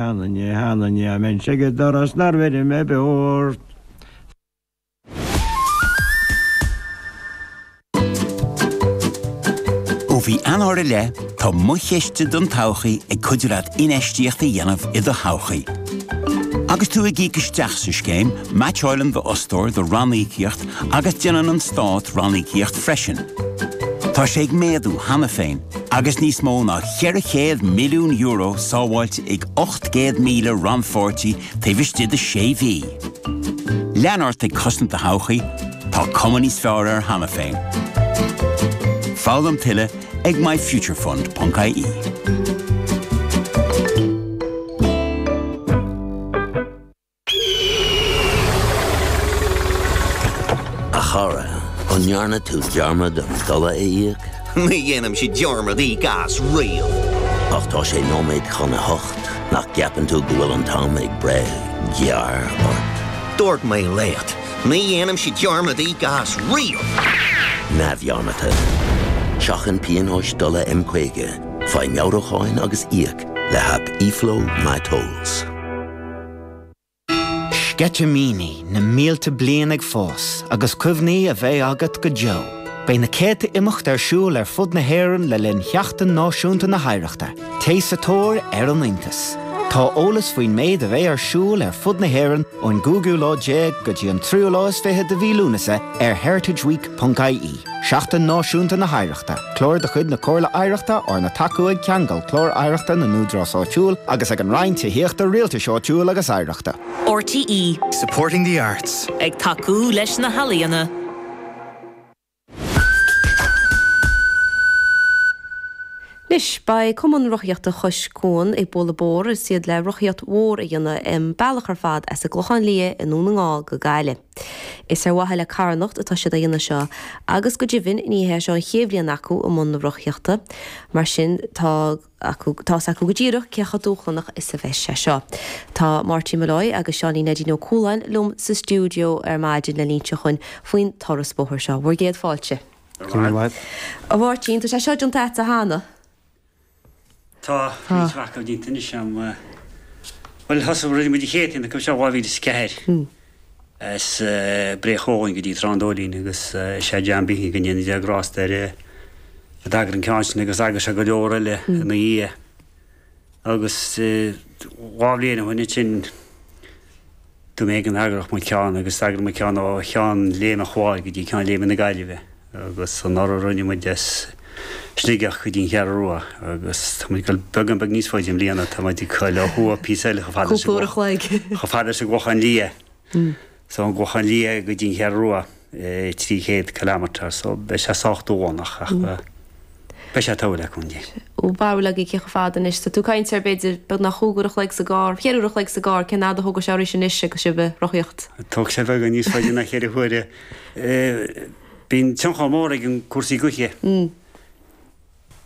Sheanainne, sheanainne, dá mbeinnse ag an doras nár bheir mé beo ort. Ó mhí Eanáir i leith, tá Mo Chiste don Todhchaí ag cuidiú leat infheistíocht a dhéanamh i do thodhchaí. Agus tú ag íoc isteach sa scéim, meaitseáileann d'fhostóir do ranníocaíocht agus déanann an Stát ranníocaíocht freisin. Tá sé ag méadú cheana féin agus níos mó ná €400 milliún sábháilte ag 800,000 rannpháirtí taobh istigh de sé mhí. Lean ort ag cosaint do thodhchaí, tá cuma níos fearr air cheana féin. Foghlaim tuilleadh ag myfuturefund.ie. A chara, an ndearna tú dearmad an dola a íoc? Ní dhéanaimse dearmad íoc as riamh. Ach tá sé nóiméad chun a hocht, nach gceapann tú go bhfuil an t-am ag breith gearr ort? Dúirt mé leat, ní dhéanaimse dearmad íoc as riamh! Neamhdhearmadta. Seachain pionóis dola M50, faigh meabhrúcháin agus íoc le haip eFlow MyTolls. Sceitimíní na mílte bliain ag fás agus cuimhní a bheidh agat go deo. Beidh na céadta imeacht ar siúl ar fud na hÉireann le linn Sheachtain Náisiúnta na hOidhreachta. Téigh sa tóir ar an iontas! Tá eolas faoin méid a bheidh ar siúl ar fud na hÉireann ón gcúigiú lá déag go dtí an tríú lá is fiche de mhí Lúnasa ar heritageweek.ie. Seachtain Náisiúnta na hOidhreachta, clár de chuid na Comhairle Oidhreachta arna tacú ag Ceangal Clár Oidhreachta na nÚdarás Áitiúil agus ag an Roinn Tithíochta, Rialtais Áitiúil agus Oidhreachta. RTÉ. Supporting the arts. Ag tacú leis na healaíona. Anois, beidh Cumann Rothaíochta Chois Cuan ag bualadh bodhar is iad le rothaíocht mhór a dhéanamh an bealach ar fad as an gClochán Liath i nDún na nGall go Gaillimh. Is ar mhaithe le carthanacht atá siad á dhéanamh seo agus go deimhin ní hé seo an chéad bhliain acu i mbun na rothaíochta. Mar sin tá acu, tá's acu go díreach cé chomh dúshlánach is a bheas sé seo. Tá Máirtín Molloy agus Seáinín Neidín Ó Cualáin liom sa stiúideo ar maidin le n-inse dhúinn faoin turas bóthair seo. Bhur gcéad fáilte. Go raibh maith. A Mháirtín, tá sé seo déanta agatsa cheana? Tá, roinnt mhaith acu déanta anois a'm. Bhuel, thosaigh, rinne muid an chéad cheann acu seo 2004 as Bré Chualann go dtí Trá an Dóilín agus is é John Behan go ndéana Dia grásta air a d'eagraigh an ceann sin agus d'eagraigh sé go leor eile ina dhiaidh. Agus dhá bhliain ó shin ansin, Dúirt mé go n-eagródh muid ceann agus d'eagraigh muid ceann ó Cheann Léime an Chláir go dtí Ceann Léime na Gaillimhe agus anuraidh rinne muid as Sligeach go dtí an Cheathrú Rua agus tá muid ag dul beagán beag níos faide i mbliana, tá muid ag dul ó thuaidh píosa eile chomh fada leis an Cúpla uair a chloig. chomh fada leis an gClochán Liath. So ón gClochán Liath go dtí an Cheathrú Rua, 300 kilometre, so beidh sé sách dúshlánach ach beidh sé togha le cúnamh Dé. Bhur mbarúil agaibh cé chomh fada anois? Tá tú ag caint ar b'fhéidir beagnach chúig uair a chloig sa gcarr, cheithre uair a chloig sa gcarr, cén fhad a thógfaidh sé arís anois agus sibh ag rothaíocht? Tógfaidh sé beagán níos faide ná cheithre huaire. Bíonn tionchar mór ag an cúrsaí gaoithe.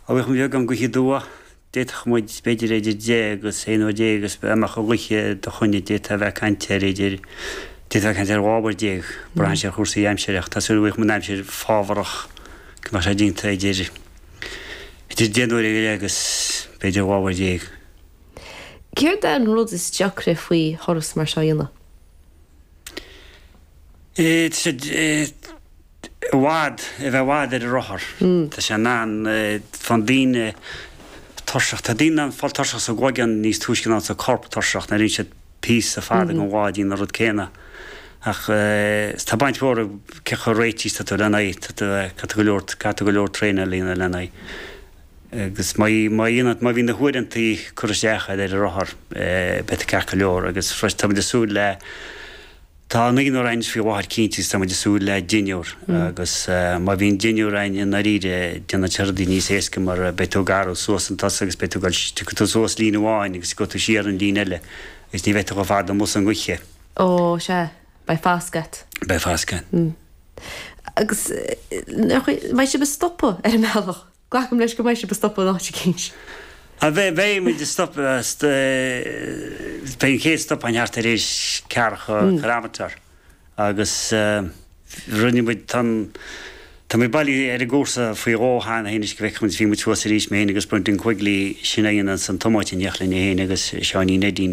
Dá mbeadh beagán gaoithe aduaidh, d'fhéadfadh muid b'fhéidir idir deich agus aon uair déag agus dá mbeadh an ghaoth i do choinne d'fhéadfá a bheith ag caint ar idir, d'fhéadfá a bheith ag caint ar 12 uair. Braitheann sé ar chúrsaí aimsire ach tá súil go bhfaighidh muid an aimsir fábharach go mbeadh sé déanta idir, idir deich n-uaire go leith agus b'fhéidir 12 uair. Céard é an rud is deacra faoi thuras mar seo a dhéanamh? Tá sé i bhfad, a bheith i bhfad ar an rothar. Tá sé in ann, faigheann daoine tuirseach, tá daoine in ann fáil tuirseach sa gcloigeann níos túisce ná sa corp tuirseach nuair a bhíonn siad píosa fada den lá ag déanamh an rud céanna. Ach tá baint mhór ag cé chomh réitithe is tá tú lena aghaidh, tá tú, caithfidh tú go leor, caithfidh tú go leor traenáil a dhéanamh lena aghaidh. Agus má, má dhéanann, má bhíonn na huaireantaí curtha isteach agat ar an rothar, beidh tú ceart go leor agus freisin tá muid ag súil le, Tá naonúr againn faoi láthair cinnte agus tá muid ag súil le deichniúr agus má bhíonn deichniúr againn i ndáiríre déanann sé rudaí níos éasca mar beidh tú ag athrú suas an tusa agus beidh tú ag dul, tiocfaidh tú suas líne amháin agus gabhfaidh tú siar an líne eile agus ní bheidh tú chomh fada amuigh sa ngaoth. Ó, sea, beidh fasc agat. Beidh fasc agat. Agus mbeidh sibh ag stopadh ar an mbealach? Glacaim leis go mbeidh sibh ag stopadh in áit eicínt. Beidh, beidh muid ag stopadh, beidh an chéad stop againn thart ar éis ceathracha kilometre agus rinne muid, tá an, tá. Tá muid bailithe ar an gcúrsa faoi dhó cheana féin anois go bhfeicfidh muid, bhí muid thuas arís, mé féin agus Brendan Quigley, sin a dhéananns an tiomáint in éineacht linn féin agus Seáinín Eddie.